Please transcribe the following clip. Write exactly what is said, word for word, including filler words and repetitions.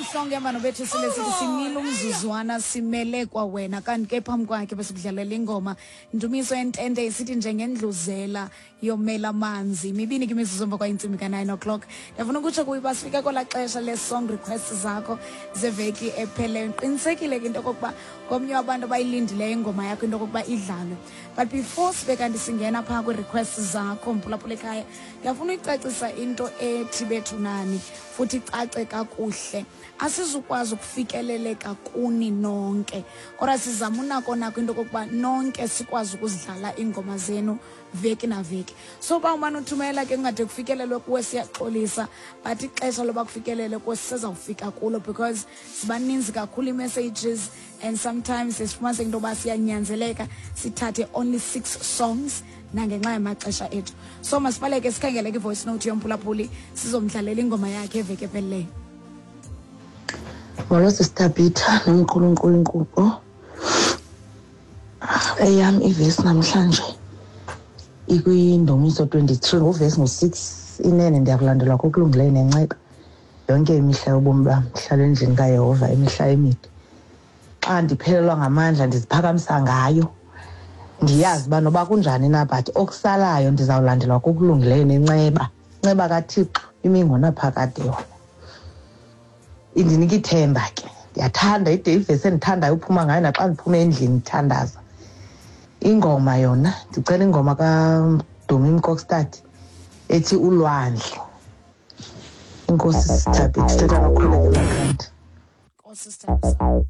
Mhlongo ehamba noBethisile, sithi simile umzuzwana simele kwa wena. Kanti ke phambi kwakhe besikudlalela ingoma Ndumiso Entente, isithi "Njengendluzela yomela amanzi". Mibini ke imizuzu emva kwayintsimbi ka-nine o'clock. Ndiyafuna ukutsho kuyo uba sifike kwelaa xesha le-song request zakho zeveki epheleyo. Qinisekile ke into okokuba ngomnye wabantu abayilindileyo ingoma yakho into okokuba idlalwe. But before sibe kanti singena phaa kwii-request zakho, mphulaphula ekhaya, ndiyafuna uyicacisa into ethi bethu nani futhi icace kakuhle: asizukwazi ukufikeleleka kuni nonke, kodwa sizama unako nako into okokuba nonke sikwazi ukuzidlala iingoma zenu veki naveki. So uba umane uthumela ke kungade kufikelelwe kuwe, siyaxolisa, but ixesha loba kufikelele kuwe sisezawufika kulo, because zibaninzi kakhulu ii-messages and sometimes sifumaniseke into yoba siyanyanzeleka sithathe only six songs nangenxa yamaxesha ethu. So masibaleke sikhangele ke i-voice note yomphulaphuli, sizomdlalela ingoma yakhe eveki ephelileyo. Molo, Sister Peter nomqulunkulu inkqubo. Eyam ivesi namhlanje ikwiNdumiso twenty-three, nguvesi ngu-six: "Inene ndiyakulandelwa kokulungileyo nenceba yonke imihla yobomi bam, ndihlala endlini kaYehova imihla emide." Xa ndiphelelwa ngamandla ndiziphakamisa ngayo, ndiyazi uba noba kunjani na, but okusalayo ndizawulandelwa kokulungileyo nenceba. Inceba kaThixo imi ngonaphakade, yona indinika ithemba ke. Ndiyathanda ide ivesi endithandayo uphuma ngayo naxa ndiphume endlini ndithandaza. Ingoma yona, ndicela ingoma kaDumi Mkokstad ethi "Ulwandle". Inkosi, Sister Thabitha, thetha noKholeka emakhanda. Nkosi, sithandwa sam.